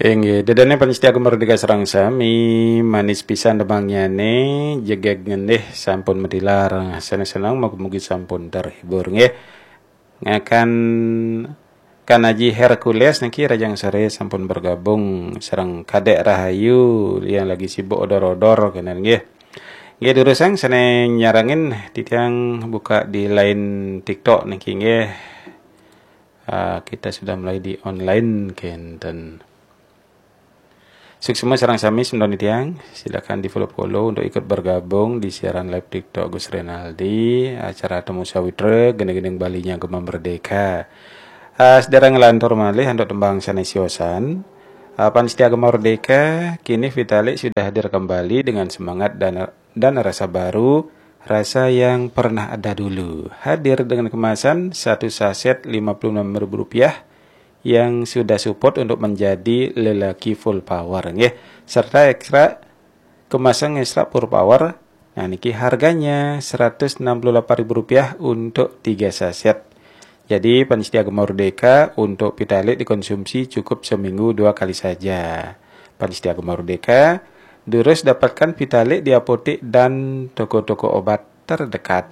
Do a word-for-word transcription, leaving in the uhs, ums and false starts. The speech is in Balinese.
Inggih, dedene panitia Gema Merdeka sareng sami, manis pisan demangyane, jegeg ngendih sampun matilar. Sane seneng, mugi-mugi sampun terhibur nggih. Ngakan Kan Aji Hercules niki rajang sore sampun bergabung sareng Kadek Rahayu yang lagi sibuk odor-odor kenen nggih. Nggih, durusang sane nyarengin titiang buka di line TikTok niki nggih. Ah, kita sudah mulai di online kenten. Suksma sareng sami semeton titiang, silakan di-follow-follow untuk ikut bergabung di siaran live TikTok Gus Renaldi, acara Temu Sawitra, gending-gending Balinya Gema Merdeka. Ah, sedherek nglantur malih antuk tembang sane siosan. Ah, panitia Gema Merdeka, kini Vitalik sudah hadir kembali dengan semangat dan, dan rasa baru, rasa yang pernah ada dulu. Hadir dengan kemasan satu saset lima puluh enam ribu rupiah yang sudah support untuk menjadi lelaki full power nggih. Serta ekstra kemasan ekstra full power. Nah, niki harganya seratus enam puluh delapan ribu rupiah untuk tiga saset. Jadi, panitia Gema Merdeka untuk Vitalik dikonsumsi cukup seminggu dua kali saja. Panitia Gema Merdeka, durus dapatkan Vitalik di apotek dan toko-toko obat terdekat.